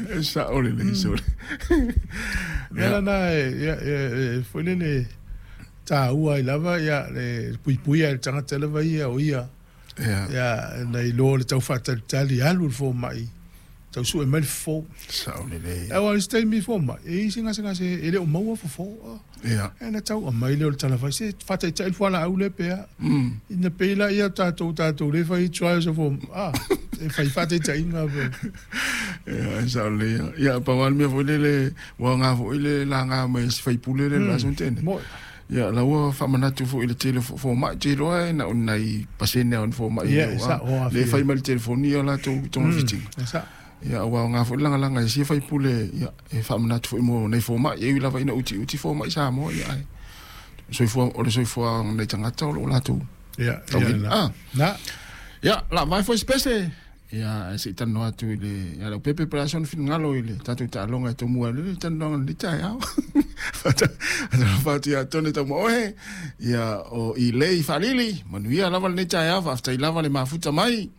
E sao lelei sole. Mea lana e foi lele taua ai lava ia le puipuia i le tagata lava ia o ia. Ia na iloa le tau faatalitali alu le fomai tau sue mai le fofo. Sao lelei. Aua o le isi taimi fomai e i ai se gasegase e le o maua fofo. Ia na tau aumai lea o le talavai se faataitai le fualaau lea pe a. Ina pei laia o tatou tatou le fai trials of a e fai faataitaiga pe. Ia e sao lelei. Ia pau lava le mea foi lele ua aoga foi le laga mai e si faipule lea i le aso na tea nei. Ia la ua faamanatu foi i le tele o fomai, ou te iloa e na o ni nai pasene lava o ni fomai lea e fai mai le telefoni ia latou togafitiga. Ia ua aoga foi le lagalaga e sia faipule ia e faamanatu foi mo nai fomai, e ui lava ina utiuti fomai Samoa ia ae soifua o le soifua o nai tagata o lo o latou tauina. Ia, la vae foi se pese. Ia, ae se i talanoa atu i le ia Leaupepe po o le a sona finagalo i le tatou taaloga e tomua ai le talanoaga i lenei taeao. Faatalofa atu ia Tone Taumaoe, ia o Ilei Faalili, manuia lava lenei taeao, faafetai lava le mafuta mai,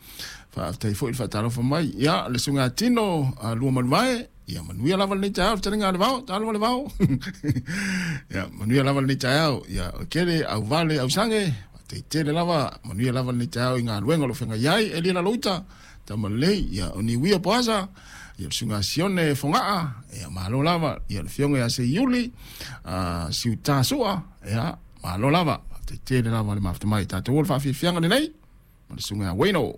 faafetai foi le faatalofa mai. Ia, le susuga ia Tino Luamanuvae, ia manuia lava lenei taeao, le fetalaiga a Levao, talofa Levao. Ia, manuia lava lenei taeao, ia, o Kele, Auvale, Ausage, faafetai tele lava, manuia lava lenei taeao i galuega o lo o feagai ai, Elia Laloita, Tamalelei, ia, o Niuia Poasa, ia, le susuga Sione Fogaa, ia, malo lava, ia, le afioga ia Seiuli, Siuta Sua, ia, malo lava, faafetai tele lava le mafuta mai, tatou o le faafiafiaga lenei, ma le susuga ia Wayno.